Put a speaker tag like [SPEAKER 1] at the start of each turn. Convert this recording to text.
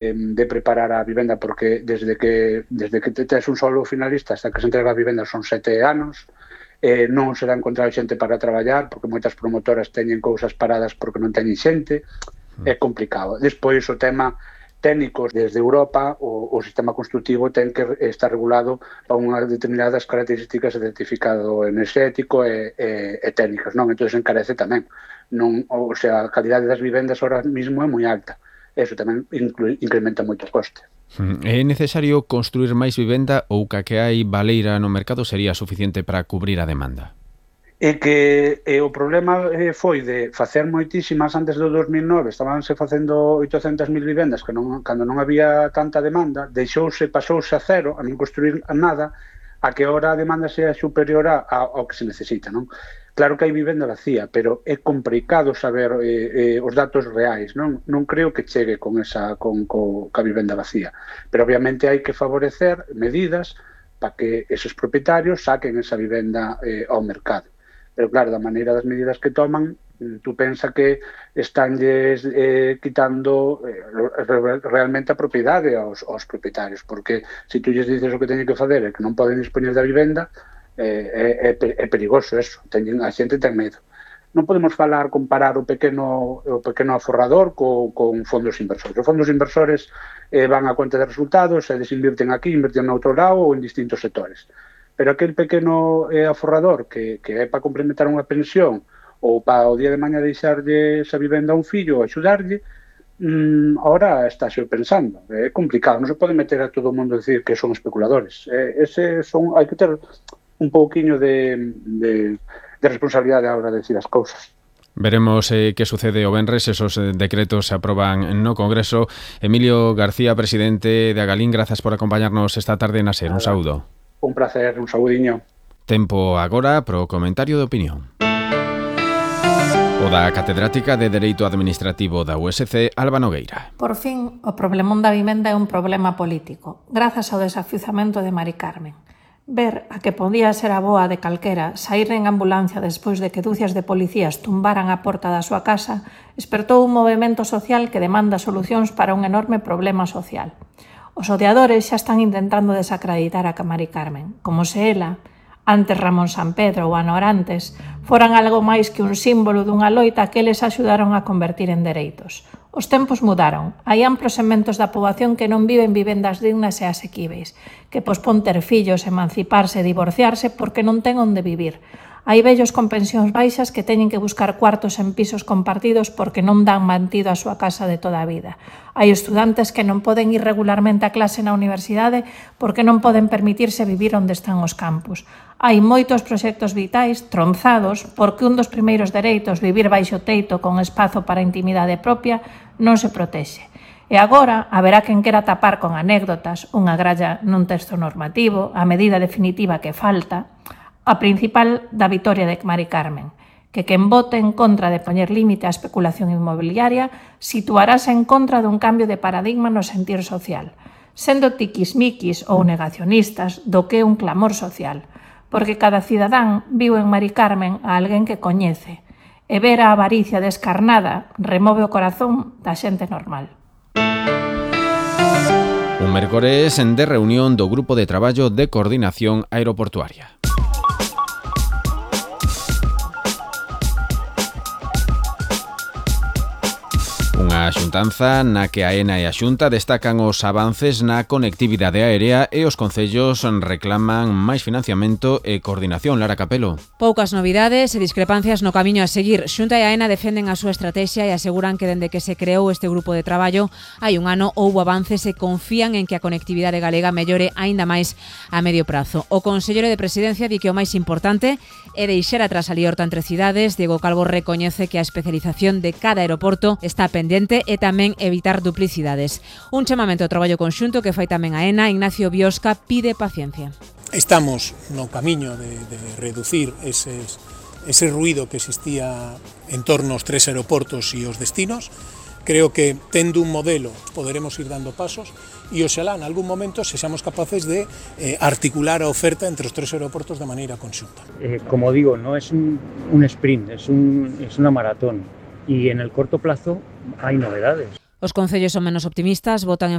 [SPEAKER 1] de preparar a vivenda, porque desde que tes un solo finalista hasta que se entrega a vivenda son 7 anos, non se dá encontrar xente para traballar, porque moitas promotoras teñen cousas paradas porque non teñen xente, é complicado. Despois, o tema técnicos desde Europa, o sistema constructivo ten que estar regulado para unhas determinadas características de certificado enerxético e técnicas, non? Entón, encarece tamén. Non, o sea, a calidade das vivendas ahora mismo é moi alta. Eso tamén incrementa moito o coste.
[SPEAKER 2] É necesario construir máis vivenda ou ca que hai baleira no mercado sería suficiente para cubrir a demanda?
[SPEAKER 1] E que o problema foi de facer moitísimas antes do 2009, estabanse facendo 800.000 vivendas que cando non había tanta demanda, pasouse a cero, a non construir nada, a que ahora a demanda sea superior ao que se necesita, non? Claro que hai vivenda vacía, pero é complicado saber os datos reais, non? Non creo que chegue ca vivenda vacía, pero obviamente hai que favorecer medidas para que esos propietarios saquen esa vivenda ao mercado. Pero claro, da maneira das medidas que toman, tú pensa que estánlles quitando realmente a propiedade aos propietarios, porque se tú lles dices o que teñen que fazer e que non poden dispoñer da vivenda, é perigoso eso, a xente ten medo. Non podemos comparar o pequeno aforrador con fondos inversores. Os fondos inversores van a conta de resultados e desinvirten aquí, invirten no outro lado ou en distintos sectores. Pero aquel pequeno aforrador que é para complementar unha pensión ou para o día de mañá deixarlle esa vivenda a un fillo ou axudarlle, ahora estáse pensando. É complicado, non se pode meter a todo o mundo a decir que son especuladores. Hai que ter un pouquiño de responsabilidade a hora de decir as cousas.
[SPEAKER 2] Veremos que sucede o venres, esos decretos se aproban no Congreso. Emilio García, presidente de Agalín, grazas por acompañarnos esta tarde na SER. Un saúdo.
[SPEAKER 1] Un placer, un saudiño.
[SPEAKER 2] Tempo agora pro comentario de opinión. O da catedrática de Dereito Administrativo da USC, Alba Nogueira.
[SPEAKER 3] Por fin, o problemón da vivenda é un problema político, grazas ao desafiuzamento de Mari Carmen. Ver a que podía ser a boa de calquera saír en ambulancia despois de que dúcias de policías tumbaran a porta da súa casa espertou un movemento social que demanda solucións para un enorme problema social. Os odiadores xa están intentando desacreditar a Mari Carmen, como se ela, antes Ramón Sampedro ou ano antes, foran algo máis que un símbolo dunha loita que eles axudaron a convertir en dereitos. Os tempos mudaron. Hai amplos segmentos da poboación que non viven vivendas dignas e asequíveis, que pospón ter fillos, emanciparse e divorciarse porque non ten onde vivir. Hai vellos con pensións baixas que teñen que buscar cuartos en pisos compartidos porque non dan mantido a súa casa de toda a vida. Hai estudantes que non poden ir regularmente a clase na universidade porque non poden permitirse vivir onde están os campus. Hai moitos proxectos vitais tronzados porque un dos primeiros dereitos, vivir baixo teito con espazo para a intimidade propia, non se protexe. E agora haberá quen quera tapar con anécdotas unha gralla nun texto normativo, a medida definitiva que falta, a principal da vitoria de Mari Carmen, que quen vote en contra de poñer límite á especulación inmobiliaria situarase en contra dun cambio de paradigma no sentir social, sendo tiquismiquis ou negacionistas do que é un clamor social, porque cada cidadán viu en Mari Carmen a alguén que coñece, e ver a avaricia descarnada remove o corazón da xente normal.
[SPEAKER 2] Un mércores de reunión do Grupo de Traballo de Coordinación Aeroportuaria. Unha xuntanza na que a AENA e a Xunta destacan os avances na conectividade aérea e os concellos reclaman máis financiamento e coordinación. Lara Capelo.
[SPEAKER 4] Poucas novidades e discrepancias no camiño a seguir. Xunta e AENA defenden a súa estrategia e aseguran que dende que se creou este grupo de traballo hai un ano houbo avances e confían en que a conectividade galega mellore aínda máis a medio prazo. O Conselleiro de Presidencia di que o máis importante é deixar atrás a liorta entre cidades. Diego Calvo recoñece que a especialización de cada aeroporto está pendente e tamén evitar duplicidades. Un chamamento ao traballo conxunto que fai tamén a AENA. Ignacio Biosca pide paciencia.
[SPEAKER 5] Estamos no camiño de reducir ese ruido que existía en torno aos 3 aeroportos e os destinos. Creo que tendo un modelo poderemos ir dando pasos e oxalá en algún momento sexamos capaces de articular a oferta entre os 3 aeroportos de maneira conxunta.
[SPEAKER 6] Como digo, no es un sprint, es una maratón. Y en el corto plazo hay novedades.
[SPEAKER 4] Os concellos son menos optimistas, votan en